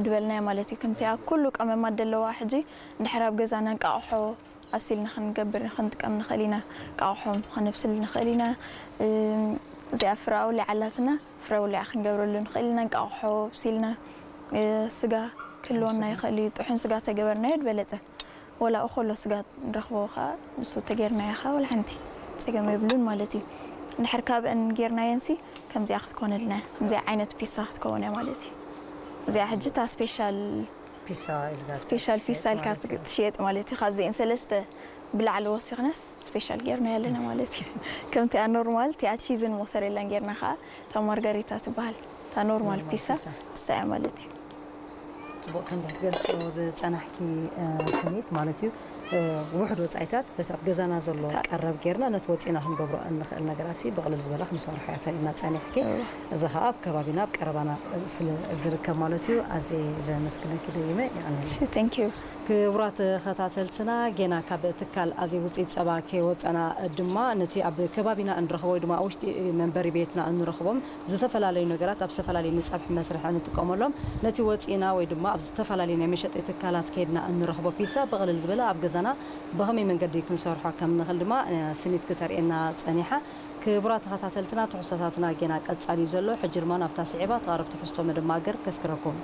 ድበልናዮ ማለት እዩ። ከምቲኣ ኩሉ ቀመማት ደለዋ ሕጂ እንድሕር ኣብ ገዛና እንቃቕሖ ኣብሲልና ክንገብር ክንጥቀም ንኽእል ኢና። እንቃቕሖ ከነብስል ንኽእል ኢና። እዚኣ ፍረ ኣውሊዓ ኣላትና፣ ፍረ ኣውሊዓ ክንገብረሉ ንኽእል ኢና። እንቃቕሖ ኣብሲልና ስጋ ክህልወና ይኽእል እዩ። ጥሑን ስጋ ተገበርናዮ ዝበለጸ። ወላ እኮሎ ስጋ ንረኽቦ ከዓ ንሱ ተጌርናዮ ከዓ ወላ ሓንቲ ጸገም የብሉን ማለት እዩ። እንድሕር ካብአን ጌርናየንሲ ከምዚኣ ክትኮነልና እያ። ከምዚኣ ዓይነት ፒሳ ክትከውን እያ ማለት እዩ። እዚኣ ሕጂ እታ ስፔሻል ፒሳ ኢልካ ስፔሻል ፒሳ ኢልካ ትሽየጥ ማለት እዩ። ካብዚአን ሰለስተ ብላዕሊ ወሲኽናስ ስፔሻል ጌርና ያለና ማለት እዩ። ከምቲኣ ኖርማል ቲኣ ቺዝን ሞሰሬላን ጌርና ከዓ እታ ማርጋሪታ ትበሃል እታ ኖርማል ፒሳ እሳ እያ ማለት እዩ። ፅቡቅ ከምዚ ክትገልፅዮ ዝፀናሕኪ ስኒት ማለት እዩ። ውሕድ ወፃኢታት በቲ ኣብ ገዛና ዘሎ ቀረብ ጌርና ነቲ ወፂና ክንገብሮ እንኽእል ነገራት ብቕልል ዝበለ ክንሰርሖ እያ ተሪእና ፀኒሕኪ። እዚ ከዓ ኣብ ከባቢና ኣብ ቀረባና ስለ ዝርከብ ማለት እዩ። ኣዝየ ዘመስግነኪ ደይመ ይቐንል። Thank you። ክቡራት ተኸታተልትና ጌና ካብ ትካል ኣዜ ውፅኢት ፀባ ከይወፀና ድማ ነቲ ኣብ ከባቢና እንረኽቦ ወይ ድማ ኣብ ውሽጢ መንበሪ ቤትና እንረኽቦም ዝተፈላለዩ ነገራት ኣብ ዝተፈላለዩ ንፀብሒ መስርሒ እንጥቀመሎም ነቲ ወፂና ወይ ድማ ኣብ ዝተፈላለዩ ናይ መሸጢ ትካላት ከይድና እንረኽቦ ፒሳ ብቕልል ዝበለ ኣብ ገዛና ብኸመይ መንገዲ ክንሰርሖ ከም ንኽእል ድማ ስኒት ክተርእየና ፀኒሓ። ክቡራት ተኸታተልትና ትሕዝቶታትና ጌና ቀፃሊ እዩ ዘሎ። ሕጂ ድማ ናብታ ስዒባ ተቓረብ ትሕዝቶ መደማገር ከስክረኩም።